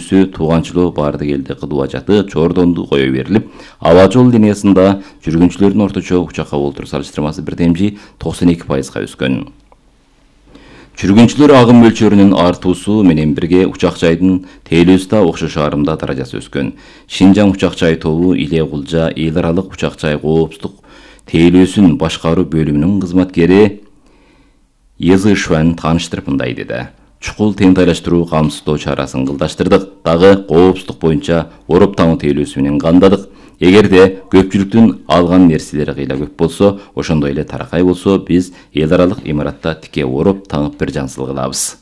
жүрүүсү тууганчылоо барды келди кылуу ажаты Чордонду кое берилип, аба жол линиясында жүргүнчүлөрдүн орточо учакка болтуруу салыштырмасы 1,92%га өскөн. Жүргүнчүлөр агым мөлчөрүнүн артуусу менен бирге учак жайдын тейлөөсү да окшош арымда даражасы өскөн. Шинжаң учак жай тобу Иле Кулжа эл аралык учак жай коопсуздук тейлөөсүн башкаруу бөлүмүнүн кызматкери Езышван тааныштырып мындай деди. Чукул тентайлаштыруу камсыздоо чарасын кылдаштырдык, дагы коопсуздук боюнча ороп таңуу тейлөөсү менен кандадык. Эгерде көпчүлүктүн алган нерселери кыйла көп болсо, ошондой эле таракай болсо, биз эл аралык имаратта тике ороп таңып бир жансыл кылабыз.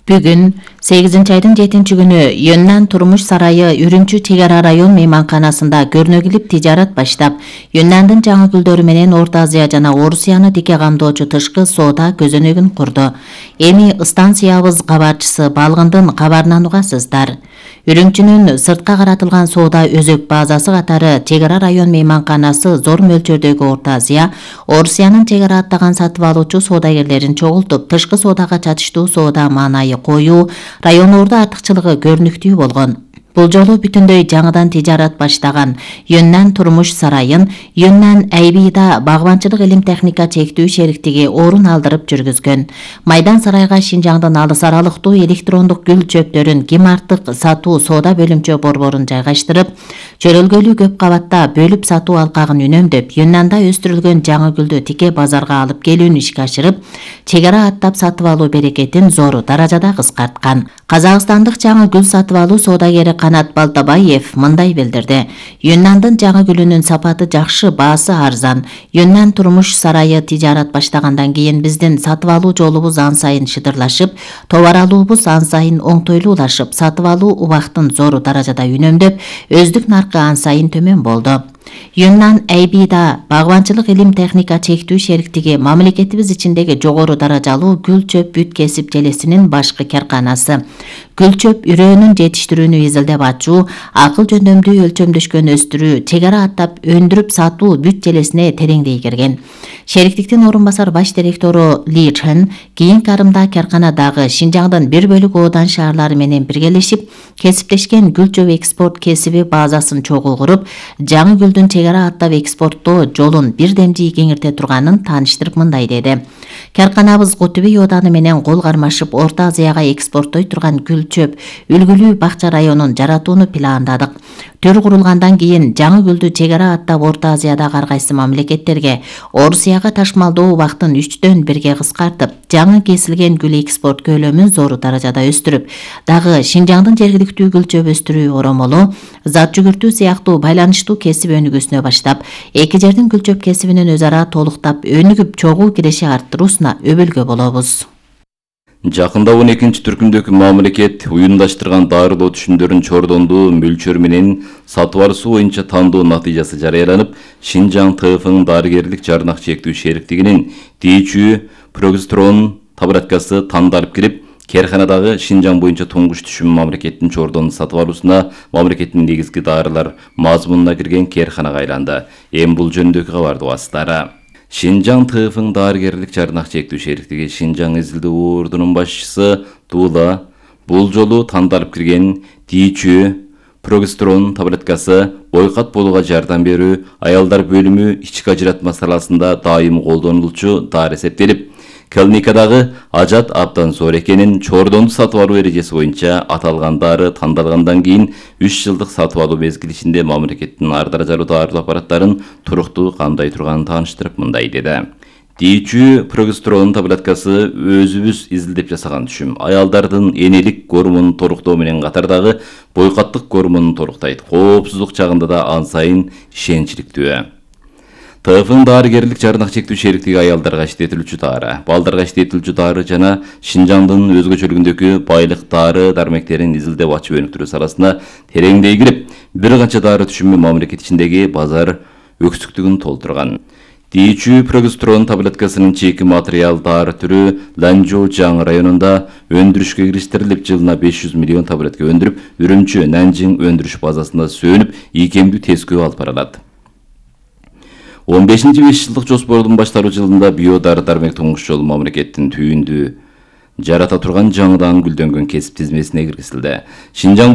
Бүгүн 8-айдын 7-күнү Юннан турмуш сарайы Үрүмчү чек ара район мейманканасында көрнөгүлүп тижарат баштап, Юннандын жаңы гүлдөрү менен Орто Азия жана Орусияны тике камдоочу тышкы соода көзөнөгүн курду. Эми станциябыз кабарчысы Балгындын кабарын угасыздар. Үрүмчүнүн сыртка каратылган соода өзөк базасы катары чек ара район мейманканасы зор мөлчөрдөгү Орто Азия, Орусиянын чек ара аттаган сатып алуучу соодагерлерин чогултуп, тышкы соодага чатыштуу соода маанайы коюу, райондордо артыкчылыгы көрүнүктүү болгон. Бул жолу бүтүндөй жаңыдан тижарат баштаган Юннан турмуш сарайын Юннан Айбида багбанчылык илим техника чектүү шериктиги орун алдырып жүргүзгөн. Майдан сарайга Шинжаңдын алыс аралыктуу электрондук гүл чөптөрүн ким артык сатуу соода бөлүмчө борборун жайгаштырып, чөрөлгөлүү көп кабатта бөлүп сатуу алкагын үнөмдөп, Юннанда өстүрүлгөн жаңы гүлдү тике базарга алып келүүнү ишке ашырып, чек ара аттап сатып алуу берекетин зор даражада кыскарткан. Казакстандык жаңы гүл сатып алуу соодагери Канат Балтабаев мындай билдирди. Юннандын жаңы гүлүнүн сапаты жакшы, баасы арзан. Юннан турмуш сарайы тижарат баштагандан кийин биздин сатып алуу жолубуз ан сайын шыдырлашып, товар алуубуз ан сайын оңтойлуулашып, сатып алуу убактын зор даражада үнөмдөп, өздүк наркы ан сайын төмөн болду. Юннан Айбида багбанчылык илим техника чектүү шериктиги мамлекетибиз ичиндеги жогору даражалуу гүл чөп бүт кесип желесинин башкы карканасы. Гүл чөп үрөөнүн жетиштирүүнү изилдеп ачуу, акыл жөндөмдүү өлчөмдөшкөн өстүрүү, чек ара аттап өндүрүп сатуу бүт желесине тереңдей кирген. Шериктиктин орун басар баш директору Ли Чен кийинки арымда карканадагы Шинжаңдын бир бөлүк оодан шаарлары менен биргелешип, кесиптешкен гүл чөп экспорт кесиби базасын чогуу куруп, жаңы гүлдүн чек ара аттап экспорттоо жолун бир демжий кеңирте турганын тааныштырып мындай деди. Карканабыз Кутуби ооданы менен кол кармашып, Орто Азияга экспорттой турган гүл чөп үлгүлүү бакча районун жаратууну пландадык. Төр курулгандан кийин жаңы гүлдү чек ара аттап Орто Азиядагы ар кайсы мамлекеттерге, Орусияга ташмалдоо убактын 3/1 кыскартып, жаңы кесилген гүл экспорт көлөмүн зор даражада өстүрүп, дагы Шинжаңдын жергиликтүү гүл чөп өстүрүү оромолу, зат жүгүртүү сыяктуу байланыштуу кесип өнүгүүсүнө баштап, эки жердин гүл чөп кесибинин өз ара толуктап, өнүгүп чогуу киреши арттыруусуна өбөлгө болобуз. Жакында 12-түркүмдөгү мамлекет уюмдаштырган дарылоо түшүмдөрүн Чордонду мөлчөр менен сатып алуу боюнча тандоо натыйжасы жарыяланып, Шинжаң ТФ дарыгерлик жарнак чектүү шериктигинин тийчүү прогестерон таблеткасы тандалып кирип, Керханадагы Шинжаң боюнча туңгуч түшүм мамлекеттин Чордонду сатып алуусуна мамлекеттин негизги дарылар мазмунуна кирген керханага айланды. Эми бул жөнүндөгү кабарды угасыздар. Шинжаң ТФ дарыгерлик жарнак чектүү шериктиги Шинжаң изилдөө ордунун башчысы Тула бул жолу тандалып кирген тийчүү прогестерон таблеткасы бойкат болууга жардам берүү, аялдар бөлүмү ички ажыратма саласында дайым колдонулчу дары эсептелип, клиникадагы ажат абдан зор экенин, Чордонду сатып алуу эрежеси боюнча аталган дары тандалгандан кийин 3 жылдык сатып алуу мезгили ичинде мамлекеттин ар даражалуу дарылоо аппараттарын туруктуу камдай турганын тааныштырып мындай деди. Тийчүү прогестерон таблеткасы өзүбүз изилдеп жасаган түшүм. Аялдардын энелик гормонун торуктоо менен катардагы бойкаттык гормонун торуктайт. Коопсуздук жагында да ан сайын ишеничиликтүү. ТФ дарыгерлик жарнак чектүү шериктиги аялдарга иштетилүүчү дары, балдарга иштетилүүчү дары жана Шинжаңдын өзгөчөлүгүндөгү байлык дары дармектерин изилдеп ачып өнүктүрүү саласына тереңдей кирип, бир канча дары түшүмү мамлекет ичиндеги базар өксүктүгүн толтурган. Тийчүү прогестерон таблеткасынын чеки материал дары түрү Ланжоужаң районунда өндүрүшкө кириштирилип, жылына 500 миллион таблетка өндүрүп, Үрүмчү Нанжиң өндүрүш базасында сөнүп, ийкемдүү тескөө алып барылат. 15-5 жылдык жоспордун башталуу жылында биодары дармек туңгуч жолу мамлекеттин түйүндү жарата турган жаңыдан гүлдөнгөн кесип тизмесине киргизилди. Шинжаң